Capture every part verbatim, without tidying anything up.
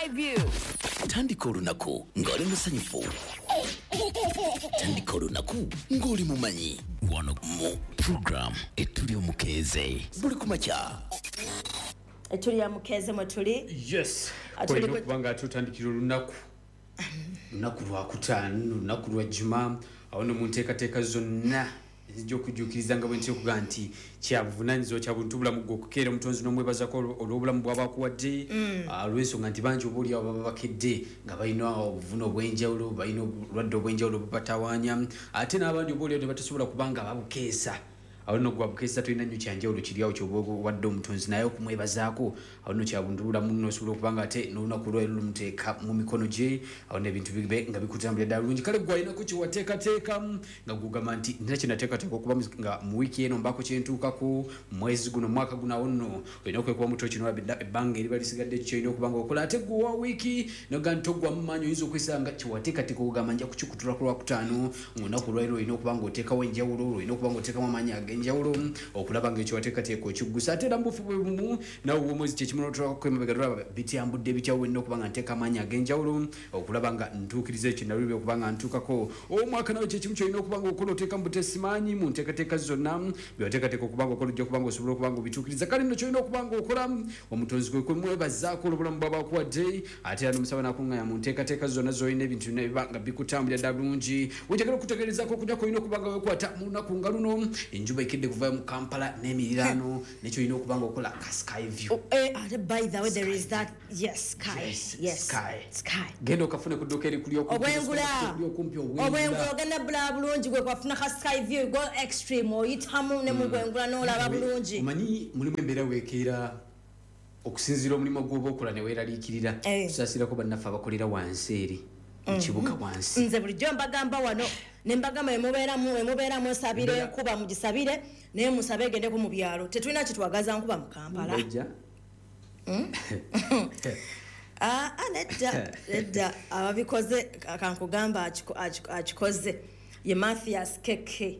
Sky View. Tandika olunaku ng'oli musanyufu. Tandika olunaku ng'oli mumanyi. Wano mu program Etuli Omukeeze buli kumakya. Etuli ya Mukeeze mwe tuli. Yes. Olina okuba nga tutandikira olunaku. Lunaku lwakutaano, lunaku lwa Juma. Awo no mu nteekateeka zonna ezijja okujjuukiriza nga bwe ntera okugaa nti kyabuvunaanyizibwa kya buntu bulamu gwe okukeera omutonzi n'omwebazako olw'obulamu bw'aba akuwadde, olw'ensonga nti bangi oba oliawo baba bakedde nga balina obuvune obw'enjawulo, balina obulwadde obw'enjawulo bubatawaanya, ate n'abandi oba oliawo ne batasobola kuba nga babukeesa. Awo nno gwe wabukeesa tolina nnyo kyanjawulo kiri awo ky'oba owadde omutonzi, naye okumwebazaako awo nno kya buntu bulamu nno osobola okuba nga ate n'olunaku olwaleero lumuteeka mu mikono gye, awo nno ebintu bibe nga bikutambulira ddala bulungi. Kale gwe alinako kye wateekateeka nga gw'ogamba nti nina kye nateekateeka okuba nga mu wiiki eno mbaako kye ntuukako, mu mwezi guno, mu mwaka guno, awo nno olina okwekuba mutwe kino olaba ebbanga eriba lisigadde ky'olina okuba nga okola. Ate gwe owa wiiki n'ogamba nti toggwamu maanyi, oyinza okwesanga kye wateekateeka okugamba nja kukikutula ku Lwakutaano, ng'olunaku olwaleero olina okuba ng'oteekawo enjawulo, olina okuba ng'oteekamu amaanyi ag'enjawulo okulaba ng'ekyo wateekateeka okiggusa. Ate era mu bufu bwe bumu nawe ow'omwezi kye kimu n'otulako emabega tulaba bityambudde bitya wenna okuba nga nteeka amaanyi ag'enjawulo okulaba nga ntuukiriza ekyo nalubye okuba nga ntuukako. Omwaka nawe kye kimu ky'olina okuba ng'okola, oteeka mu butesimaanyi mu nteekateeka zonna bye wateekateeka okuba ng'okola, ojja kuba ng'osobola okuba ng'obituukiriza. Kale nno ky'olina okuba ng'okola omutonzi kwe kumwebazaako olw'obulamu bw'aba akuwadde, ate era n'omusaba n'akuŋŋaanya mu nteekateeka zonna z'olina ebintu byonna biba nga bikutambulira ddala bulungi. Wenjagala okutegeerezaako okunyako olina okuba nga weekwata mu lunaku nga luno, enjuba ekedde kuvayo mu Kampala n'emiriraano, nekyolina okuba nga okola ka Sky View. Oh, eh, ate by the way there is that, yes, Sky. Yes, yes. Sky. Sky. Genda okafune ku dduuka erikuli okumpi, Obwengula. okumpi, Obwengula ogenda bulaba bulungi gwe kwafuna ka Sky View, go extreme, oyitamu ne mu bwengula n'olaba bulungi. Omanyi mulimu embeera weekeera okusinziira omulimu gw'oba okola ne weeraliikirira. Eh. Tusaasirako bannaffe abakolera wansi eri mu kibuga wansi. Nze bulijjo mbagamba wano ne mbagamba emubeeramu emubeeramu esabire Mbeera- enkuba mugisabire, naye musabe egendeko mu byalo, tetulina kyetwagaza nkuba mu Kampala. Bajja. Ah, ah, nedda nedda, ababikoze kankugamba akiko- akiko- akikoze ye Mathias Keke.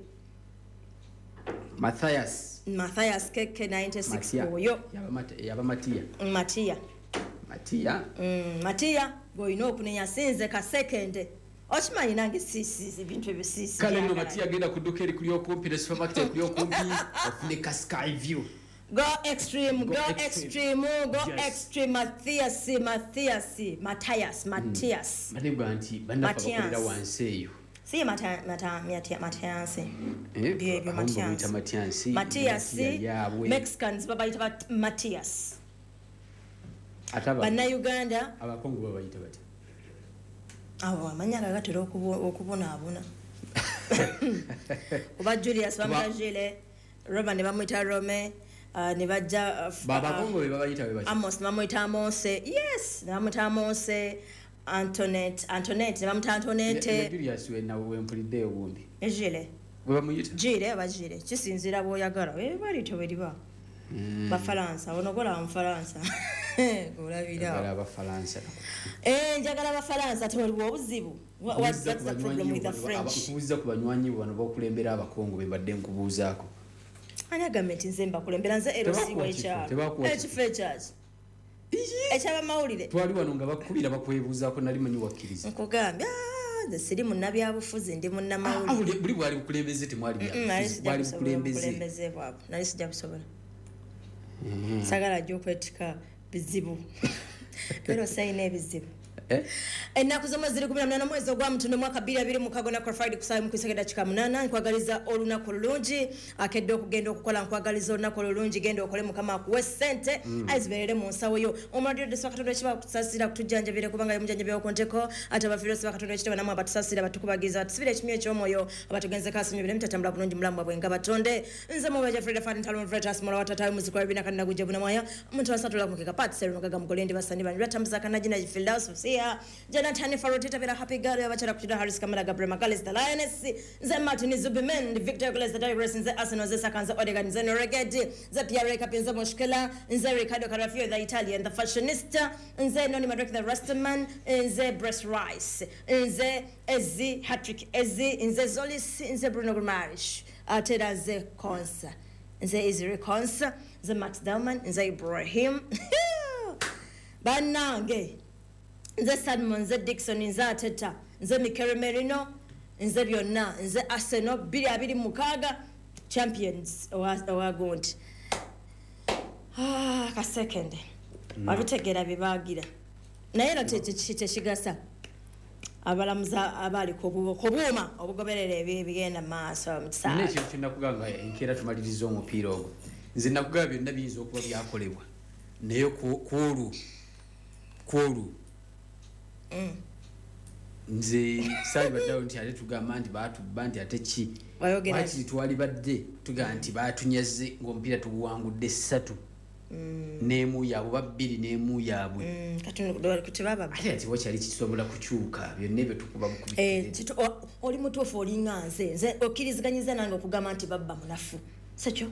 Mathias. Mathias Keke ninety-six. Matia. Oyo Yaba Mat- yaba Matia. Matia. Matia. Mm, Matia gweolina okunenya, sinze kasekende, okimanyi nange si ebintu ebyo si si Kale nno byagala. Matia agenda ku dduuka erikuli okumpi ne supermarket ekuli okumpi ofune ka Sky View. Go extreme, go Go extreme. extreme, go Yes. extreme. Matthias, Matthias, Matthias, Matthias. Banegwa nti bannaffe Matias. abakolera wansi eyo. Si Mata, Mata, Mata, Matthias. Eh, Byebyo abamu bamuyita Matthias. Matias. Matthias, Matia yaabwe. Mexicans babayita bat- Matthias. Ate aba- Bannayuganda Abakongo babayita batya? Abo amanya gagatera okubo- okubonaabona. Kuba Julius bamuyita Gile, Roma ne bamuyita Rome, uh, ne bajja uh, f- Ba- Abakongo be babayita bwe batya? Amos ne bamuyita Amose. Yes, ne bamuyita Amose. Antoinette, Antoinette ne bamuyita Ne- ne Antoinette. Julius we nawe wempuliddeyo gundi. Ne Gile. Gwe bamuyita? Gile oba Gile, kisinziira bw'oyagala. Eh, balityo bwe liba. Bafalansa, ono golaba Mufalansa. Olabira. Njagala Abafalansa. Eh, njagala Abafalansa, ate waliwo obuzibu. What, what, what's the problem with the French? Nkubuuza ku banywanyi bo bano bakulembera Abakongo be mbadde nkubuuzaako. Ani agambye nti nze mbakulembera? Nze L C Tebakuwa kifo, w'ekyalo. tebakuwa kifo. Ekifo ekyaki? Ekyabamawulire. Twali wano nga bakubira bakwebuuzaako, nali manyi wakkiriza. Nkugambye, ah, nze siri munnabyabufuzi, ndi Ah, munnamawulire. buli- buli bwali bukulembeze, temwali Mm, nali byabufuzi, sijja bwali busobola bukulembeze. obukulembeze bwabwe, nali sijja busobola. Sagala ajja okwetika bizibu, era osayina ebizibu. Eh? Ennaku z'omwezi ziri kumi na munaana mwezi ogwa Mutono mwaka bbiri abiri mukaaga na Friday ku ssaawa emu ku dakika munaana. Nkwagaliza olunaku olulungi, akedde okugenda okukola, nkwagaliza olunaku olulungi, genda okole, Mukama akuwe ssente azibeerere mu nsawo yo. Omulwadde osiba Katonda ekiba kutusasira kutujjanjabire, kubanga ye mujjanjabi wokunteko. Ate abafiire osiba Katonda ekitaba namwe abatusasira batukubagiza batusibire ekimyu eky'omwoyo, abatugenzeko asonyiwire mutatambula bulungi mulamu bwabwe nga batonde. Nze mubaja Freda Fadin Talon Fretas Mola watatayo muziki wa bina kanna gujja bunamwaya omuntu wasatula mukeka Pat Seru Mugaga Mugolendi basani bani batambuza kanajina Fildaus Fusia Jonathan Farotita Bera Happy Girl abachara kuchida Harris Kamala Gabriel Magalis the Lioness nze Martin Zubimen Victor Glass the Tigers nze Arsenal nze Saka nze Odegaard nze Noregedi nze Pierre Kapi nze Mushkela nze Ricardo Carafio the Italian the fashionista nze Noni Madrek the Rastaman nze Breast Rice nze Ezi Patrick Ezi nze Zolis nze Bruno Guimaraes ate era nze Konsa nze Israel Konsa nze Max Dalman nze Ibrahim. Bannange, Nze Salmon, nze Dickson, nze Ateta, nze Mikel Merino, nze byonna, nze Arsenal bbiri abiri mukaaga champions owa gundi. Ah, kasekende wabitegeera bye baagira, naye era tekigasa abalamuzi abaali ku buuma obugoberera ebigenda mu maaso mu kisaawe. Nina ekintu kye nakugamba enkeera tumaliriza omupiira ogwo. Nze nakugamba byonna biyinza okuba byakolebwa, naye ku olwo ku olwo nze saalibaddeawo nti ate tugamba nti baatubba nti ate ki, wakiri twalibadde tugamba nti baatunyaze ng'omupiira tuguwangudde ssatu n'emu yaabwe oba bbiri n'emu yaabwe. Ate ati wakyali kisobola kukyuka byonna ebyo tukuba bukubi. Oli mutuufu, olinga nze nze okkiriziganyiza nange okugamba nti babba munafu, sekyo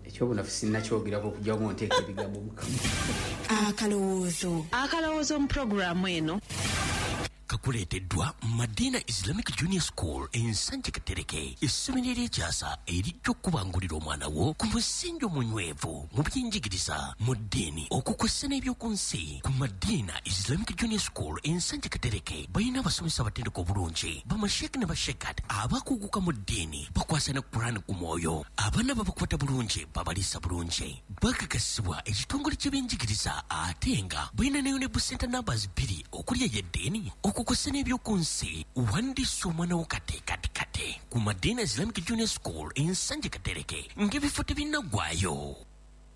ekyobunafu sinnakyogerako okujjako nteeka ebigambo mukamwa. Akalowoozo akalowoozo mu pulogulaamu eno kakuleeteddwa Madina Islamic Junior School Ensanje Katereke, essomero ery'ekyasa erijja okukubangulira omwana wo ku musingi omunywevu mu byenjigiriza, mu ddiini, okukwessa n'ebyoku nsi. Ku Madina Islamic Junior School Ensanje Katereke balina abasomesa abatendeka obulungi, bamasheeke ne bashekat abakuguka mu ddiini, bakwasa ne Quran ku mwoyo. Abaana babakwata bulungi, babaliisa bulungi, bakakasibwa ekitongole ky'ebyenjigiriza, ate nga balina ne UNEB Center numbers bbiri okuli ey'eddiini, okukosa n'ebyoku nsi. Wandiisa omwana wo kate kate kate ku Madina Islamic Junior School Ensanje Katereke ng'ebifo tebinnaggwayo.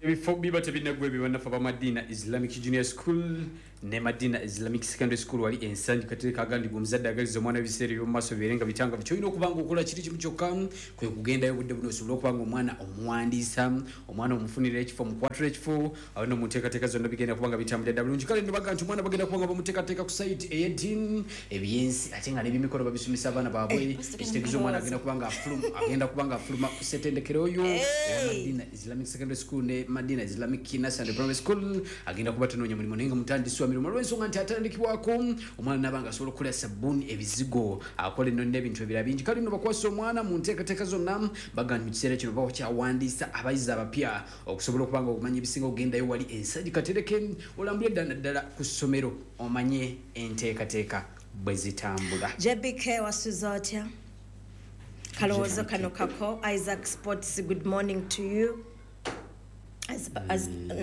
Ebifo biba tebinnaggwa ebyo bannaffe aba Madina Islamic Junior School ne Madina Islamic Secondary School wali Ensanje Katereke. Agandibwa omuzadde agaliza omwana ebiseera eby'omu maaso bibeere nga bitangavu, ky'olina okuba nga okola kiri kimu kyokka kwe kugendayo obudde buno osobole okuba nga omwana omuwandiisa, omwana omufunira ekifo, omukwatula ekifo, awo nno mu nteekateeka zonna bigenda kuba nga bitambulira ddala bulungi. Kale nno baga nti omwana bagenda kuba nga bamuteekateeka ku sayiti ey'eddiini, ebyensi, ate nga n'ebyemikono babisomesa abaana baabwe. Ekitegeeza omwana agenda kuba nga afuluma agenda kuba nga afuluma ku ssettendekero oyo owa Madina Islamic Secondary School ne Madina Islamic Nursery Primary School, agenda kuba tanoonya mulimu naye nga mutandisi wa mirimu, olw'ensonga nti atandikibwako omwana n'aba nga asobola okukola sabbuuni, ebizigo, akola enno n'ebintu ebirala bingi. Kale nno bakwasa omwana mu nteekateeka zonna, baga nti mu kiseera kino bakyawandiisa abayizi abapya okusobola okuba nga okumanya ebisinga okugendayo wali Ensanje Katereke, olambule ddala naddala ku ssomero omanye enteekateeka bwe zitambula. J B K wasuza otya? Kalowoozo kano kako. Isaac Sports, good morning to you.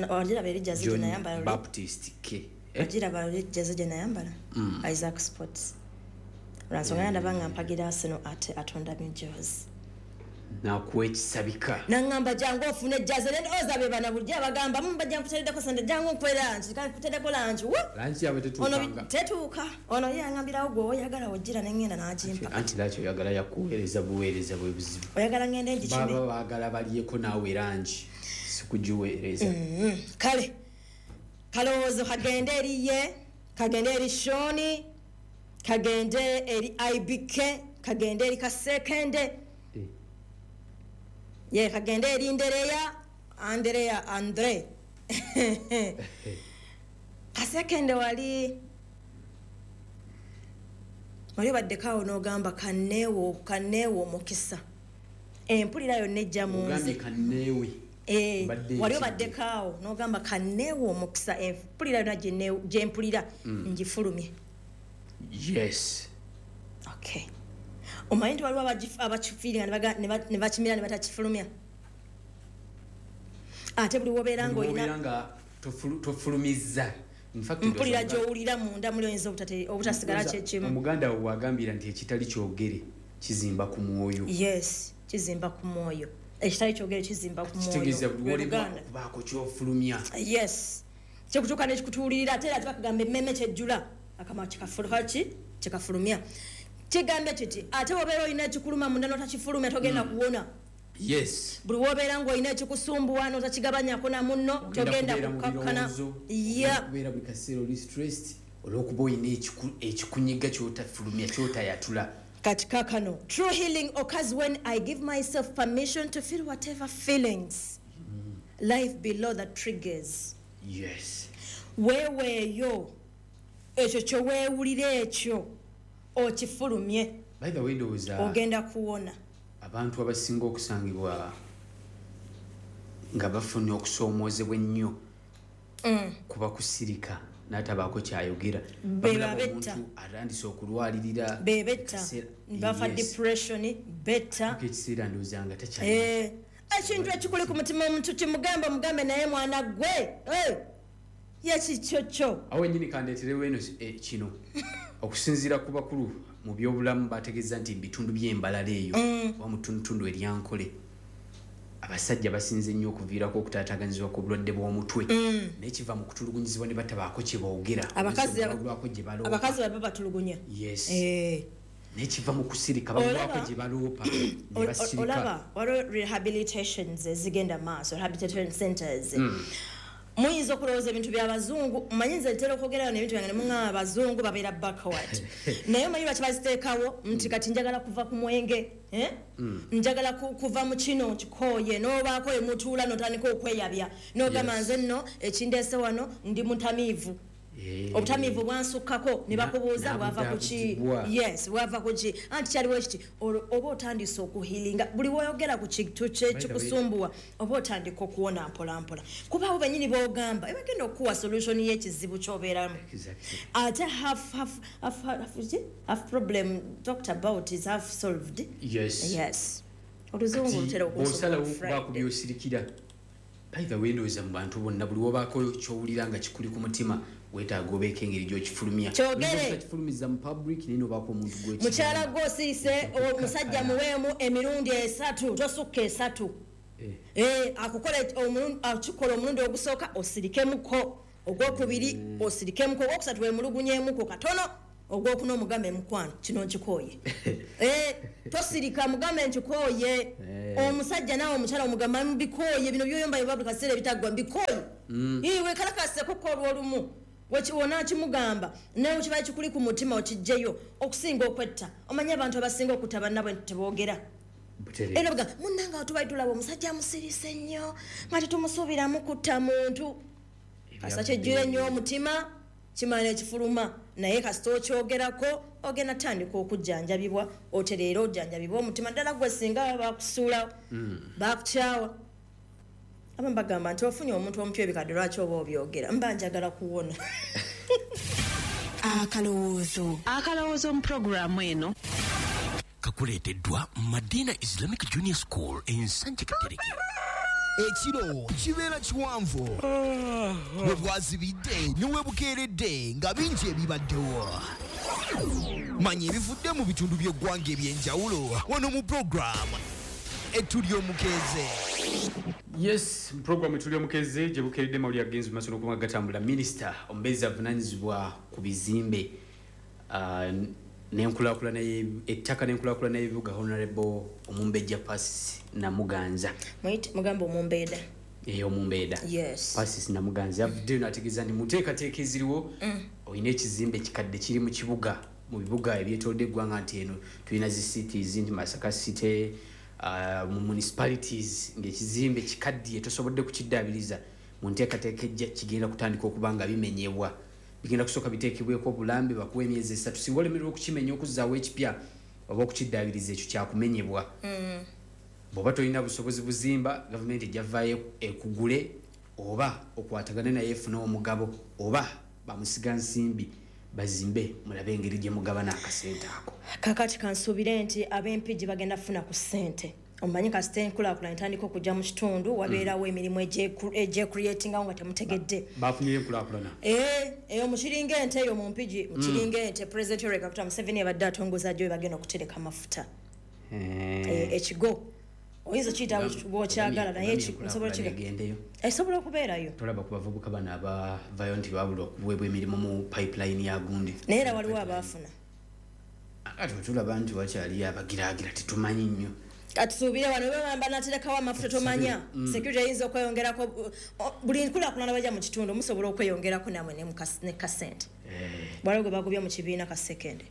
Ogiraba eri jazi gye nayambala Baptist K. Ogiraba eri jazi gye nayambala Isaac Sports. Lwansonga ndaba nga mpagira Arsenal ate atonda mijozi nakuwa ekisabika nangamba jangu ofune jazi nendowooza be bana bulijjo abagamba mubajja nkuteereddeko sente jangu nkuwe lanki nkuteereddeko lanki lanki yaabwe tetuukanga tetuuka ono ye angambirawo gwe oyagala ojjira nengenda n'agimpa. Anti laki oyagala yakuweereza buweereza bwe buzibu, oyagala ngende ngikime, baba baagala balyeko naawe lanki sikugiweereza. Kale kalowoozo kagende eri ye, kagende eri Shoni, kagende eri I B K, kagende eri Kasekende, ye kagende eri Ndereya, Andrea Andre. Kasekende wali wali baddekaawo n'ogamba kanneewo kanneewo omukisa, empulira yonna ejja mu nze. Kanneewe wali obaddekaawo n'ogamba kanneewo omukisa, empulira yonna gye mpulira ngifulumye. Yes. Okay. Omanyi nti waliwo abakifiiringa ne bakimira ne batakifulumya, ate buli wobeera ng'olina tofulumizza mpulira gy'owulira munda muli oyinza obutasigala kyekimu. Omuganda wo wagambira nti ekitali kyogere kizimba ku mwoyo. Yes, kizimba ku mwoyo. Ekitali kyogere kizimba ku mwoyo. Kitegeeza buli wolemwa okubaako ky'ofulumya. Yes, kyekutuuka n'ekikutuulirira, ate era tebakugamba emmeme kyejjula akama kikafulumya kikafulumya. Kigambye kiti ate wobeera olina ekikuluma munda n'otakifulumya togenda kuwona. Yes. Buli wobeera ng'olina ekikusumbuwa n'otakigabanyako na munno togenda kukakkana. Kubeera buli kaseera oli stressed olw'okuba olina ekikunyiga ky'otafulumya ky'otayatula. Kati kaakano, true healing occurs when I give myself permission to feel whatever feelings mm. life below the triggers. Yes. Weeweeyo ekyo kyeweewulira ekyo okifulumye. By the way, ndowooza ogenda kuwona. Abantu abasinga okusangibwa nga bafunye okusoomoozebwa ennyo kuba kusirika. N'atabaako kyayogera. Bamulaba omuntu atandise okulwalirira, bebetta bafa depression betta ekiseera ndowooza nga takyalina ekintu ekikuli ku mutima. Omuntu kimugamba, mugambe naye mwana gwe yekikyokyo. Awo ennyini kandeeterewo eno kino. Okusinziira ku bakulu mu byobulamu, bategeeza nti bitundu by'embalala eyo oba mu ttundutundu eryankole, abasajja basinze nnyo okuviirako okutaataaganyizibwa ku bulwadde bw'omutwe, naye kiva mu kutulugunyizibwa ne batabaako kye boogera. Abakazi baba batulugunya. Yes, naye kiva mu kusirika, balwako gye baloopa ne basirika. Olaba waliwo rehabilitations ezigenda maaso, rehabilitation centers. Muyinza okulowooza ebintu by'abazungu. Mmanyi nze ntera okwogerayo n'ebintu byange ne muŋŋamba abazungu babeera backward, naye omanyi lwaki baziteekawo? Nti kati njagala kuva ku mwenge, njagala kuva mu kino nkikooye, n'obaako emutuula n'otandika okweyabya n'ogamba nze nno ekindeese wano ndi mutamiivu, obutamiivu bwansukkako. Ne bakubuuza bwava ku ki? Yes, bwava ku ki? Anti kyaliwo ekiti, oba otandise okuhilinga. Buli woyogera ku kintu kikusumbuwa, oba otandika okuwona mpola mpola, kuba abo bennyini b'ogamba ebagenda okukuwa solution y'ekizibu ky'obeeramu. Ate half, half, half, half, half problem talked about is half solved. Yes. Yes, oluzungu lutera. Bw'osalawo okubaako by'osirikira, by the way, ndowooza mu bantu bonna buli wobaako ky'owulira nga kikuli ku mutima, weetaaga obeeko engeri gy'okifulumya. Kyogere. Kifulumiza mu public, naye nobaako omuntu gwe. Mukyala gw'osiise, omusajja muweemu emirundi esatu, tosukka esatu. Akukola, akikola omulundi ogusooka, osirikemuko, ogwokubiri osirikemuko, ogwokusatu wemulugunyemuko katono, ogwokuna omugambe, "Mukwano, kino nkikooye." Tosirika, mugambe nkikooye. Omusajja naawe omukyala omugamba, "Mbikooye bino byoyomba buli kaseera ebitaggwa, mbikooye." Iwe kalakasekuko olwolumu wonakimugamba, naye kiba kikuli ku mutima okijjeyo okusinga okwetta. Omanyi abantu abasinga okutta bannabwe teboogera. Era baga munnange tubali tulaba omusajja amusirise nnyo nga tetumusuubiramu kutta muntu. Kasita kyejjula ennyo omutima, kimala ekifuluma, naye kasita okyogerako, ogenda tandika okujjanjabibwa, otereera ojjanjabibwa omutima. Ddala gwe singa bakusuula, bakukyawa, abamu bagamba nti ofunye omuntu omupya ebikadde, lwaki oba obyogera? Mba njagala kuwona. Akalowoozo. Akalowoozo mu pulogulaamu eno kakuleeteddwa Madina Islamic Junior School Ensanje Katereke. Ekiro kibeera kiwanvu, bwe bwazibidde ne we bukeeredde nga bingi ebibaddewo. Manya ebivudde mu bitundu by'eggwanga eby'enjawulo wano mu puroguramu Etuli Omukeeze. Yes, program Etuli Omukeeze. Gye bukeeredde mawulire agenzi maaso n'okuba gatambula. Minisita omubeezi avunaanyizibwa ku bizimbe uh, n'enkulaakulana, ettaka n'enkulaakulana y'ebibuga, Honorable Omumbejja Persis Namuganza. Mugamba omumbeeda. Eyo omumbeeda. Yes. Persis Namuganza avuddeyo n'ategeeza nti mu nteekateeka eziriwo, olina ekizimbe kikadde kiri mu kibuga, mu bibuga ebyetoolodde eggwanga, nti eno tulina zi cities, nti Masaka City, uh, mu municipalities, ng'ekizimbe kikaddiye tosobodde kukiddaabiriza, mu nteekateeka ejja kigenda kutandika okuba nga bimenyebwa. Bigenda kusooka biteekebweko obulambe, bakuwa emyezi esatu. Singa olemererwa okukimenya okuzzaawo ekipya oba okukiddaabiriza, ekyo kyakumenyebwa. mm. Bw'oba tolina busobozi buzimba, gavumenti ejja vaayo ekugule oba okwatagane naye efune omugabo, oba bamusiga nsimbi bazimbe, mulabe engeri gye mugabana akasente ako. Kakati kansuubire nti ab'Empigi bagenda kufuna ku ssente. Omanyi kasita enkulaakulana etandika okujja mu kitundu, wabeerawo emirimu egyecreatingawo nga temutegedde. Bafunye enkulaakulana. Eyo mukiringa ente, eyo mu Mpigi mukiringa ente. President Yoweri Kaguta Museveni abadde atongoza gyo bagenda okutereka amafuta ekigo. Oyinza okiyita bw'okyagala, naye nsobola egendeyo. Esobola okubeerayo. Tolaba ku bavubuka bano abavayo nti babula okuweebwa emirimu mu pipeline ya gundi? Naye era waliwo abaafuna. Ate tulaba nti wakyaliyo abagiraagira, tetumanyi nnyo. Katusuubire wano bebamba naterekawo amafuta, tomanya mm. security eyinza okweyongerako. Buli nkulaakulana bajja mu kitundu, musobola okweyongerako namwe ne kasente. Eh. Waliwo gwe bagobye mu kibiina ka sekende.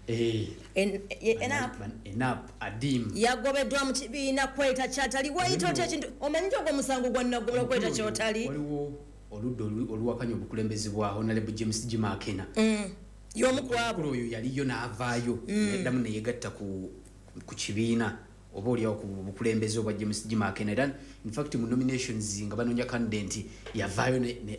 Eh. Enap adim yagobeddwa mu kibiina kweta kyatali. Wayita otya ekintu? Omanyi nti ogwo omusango gwa naggomola, kweta kyotali. Waliwo oludda oluwakanya obukulembeze bwa Honorable James Jimakena. mm. y'omu ku abo. Oyo yaliyo n'avaayo, neddamu neyegatta ku ku kibiina oba oliawo ku bukulembeze obwa James Jimakena. Era infact mu nominations nga banoonya candidate, yavaayo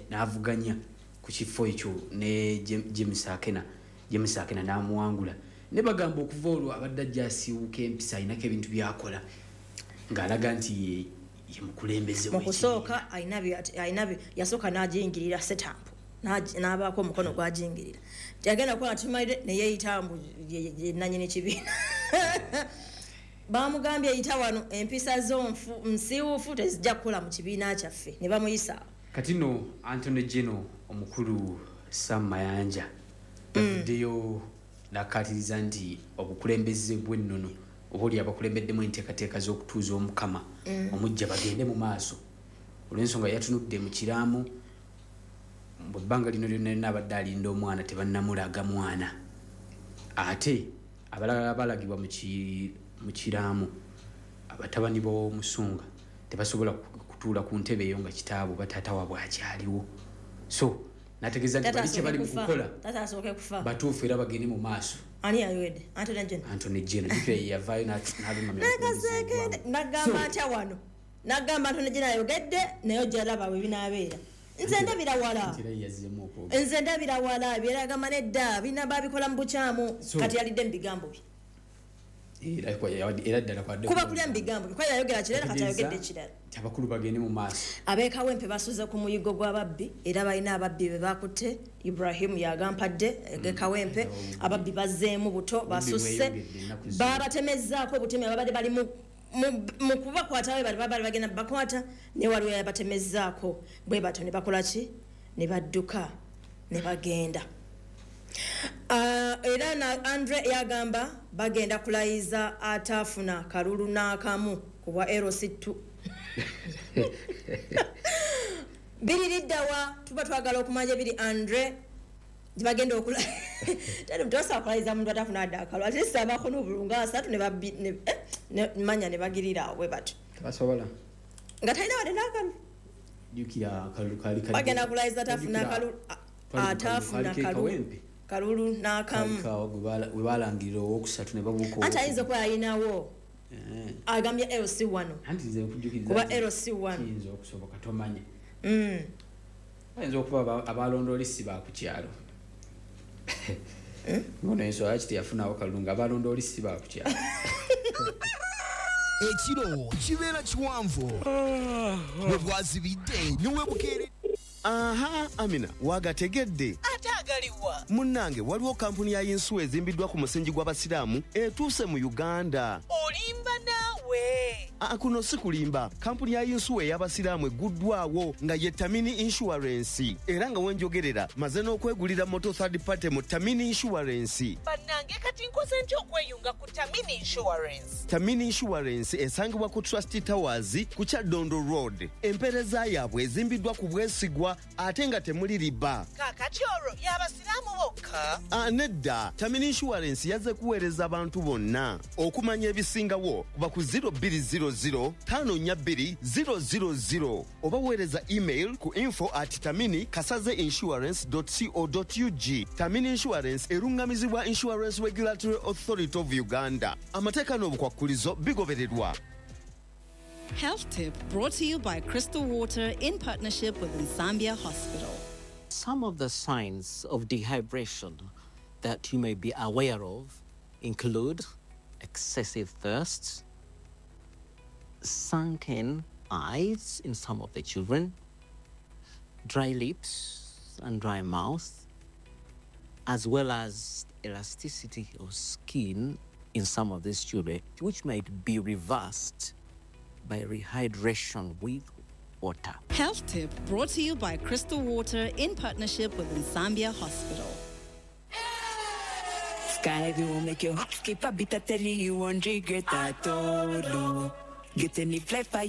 n'avuganya. ku kifo ekyo ne James Akena James Akena n'amuwangula ne bagamba okuva olwo abadde ajja asiiwuuka empisa ayinako ebintu by'akola ng'alaga nti ye ye mukulembeze mu kusooka alina alina yasooka n'agiyingirira setampu n'abaako omukono gw'agiyingirira yagenda kukola tumalire ne yeeyita mbu nannyini kibiina bamugambye yita wano empisa zo nsiiwuufu tezijja kukola mu kibiina kyaffe ne bamuyisa. Kati nno Anthony Geno omukulu Sam Mayanja yavuddeyo n'akkaatiriza nti obukulembeze bw'ennono oba oli abakulembeddemu enteekateeka z'okutuuza omukama omujja bagende mu maaso olw'ensonga yatunudde mu kiraamo mu bbanga lino lyonna lyonna abadde alinda omwana tebannamulaga mwana ate abalala balagibwa mu kiraamo abatabani b'omusunga tebasobola kutuula ku ntebe eyo nga kitaabwe oba taata waabwe akyaliwo so n'ategeeza nti bali kye bali mu kukola batuufu era bagende mu maaso. Ani ayogedde? Anthony Geno. Anthony Geno jjukira ye yavaayo n'alumamya n'agamba atya wano n'agamba Anthony Geno ayogedde naye ojja laba bwe binaabeera. Nze ndabira wala nze ndabira wala byeragamba nedda bina babikola mu bukyamu kati yalidde mu bigambo bye era ddala kwadde kuba kulya mu bigambo bye kuba yayogera kirala kati ayogedde kirala abakulu bagende mu maaso. Ab'ekawempe basuze ku muyigo gw'ababbi era balina ababbi be bakutte Ibrahim yagampadde ag'ekawempe ababbi bazzeemu buto basusse babatemezzaako obutemi ababadde bali mu mu kubakwata we bali babali bagenda bakwata ne waliwo yabatemezzaako bwe batyo ne bakola ki ne badduka ne bagenda. Uh, era na Andre yagamba bagenda kulayiza atafuna kalulu n'akamu kubwa L C two biri liddawa tuba twagala okumanya biri Andre bagenda okula tali mtosa kulayiza muntu atafuna adda akalu ate sabako n'obulunga asatu ne babbi ne, eh, ne manya ne bagirira awo bwe batyo tebasobola nga talina wadde n'akalu jjukira akalulu kaali bagenda kulayiza atafuna akalu atafuna kalulu kalulu n'akamu we balangirira owokusatu ne babuuka anti ayinza okuba yalinawo agambye L C one anti nze nkujjukiriza kuba L C one kiyinza okusoboka tomanya bayinza okuba abalondooli si ba ku kyalo ngono ensonga lwaki teyafunawo kalulu nga abalondooli si ba ku kyalo. Ekiro kibeera kiwanvu bwe bwazibidde ne webukeere. Aha, Amina, wagategedde. Ate agaliwa. Munnange waliwo kampuni ya yinsuwa ezimbiddwa ku musingi gw'abasiraamu etuuse mu Uganda. Olimba naawe. Aa, kuno si kulimba. Kampuni ya yinsuwa ey'abasiraamu egguddwawo nga ye Tamini Insurance. Era nga wenjogerera maze n'okwegulira moto third party mu Tamini Insurance. Bannange kati nkoze ntya okweyunga ku Tamini Insurance? Tamini Insurance esangibwa ku Trust Towers ku Kyadondo Road. Empeereza yaabwe ezimbiddwa ku bwesigwa ate nga temuli riba. Kaakati olwo y'abasiraamu bokka? Ah, nedda. Tamini Insurance yazze kuweereza abantu bonna. Okumanya ebisingawo kuba ku zero two zero zero tano nnya bbiri zero zero zero oba weereza email ku info at tamini kasaze insurance dot co dot ug. Tamini Insurance erungamizibwa Insurance Regulatory Authority of Uganda. Amateeka n'obukwakkulizo bigobererwa. Health Tip brought to you by Crystal Water in partnership with Nsambya Hospital. Some of the signs of dehydration that you may be aware of include excessive thirst, sunken eyes in some of the children, dry lips and dry mouth, as well as elasticity of skin in some of these children, which might be reversed by rehydration with water. Health Tip brought to you by Crystal Water in partnership with Nsambya Hospital. Sky will make your heart skip a beat, I tell you you won't regret at all. Get any flight for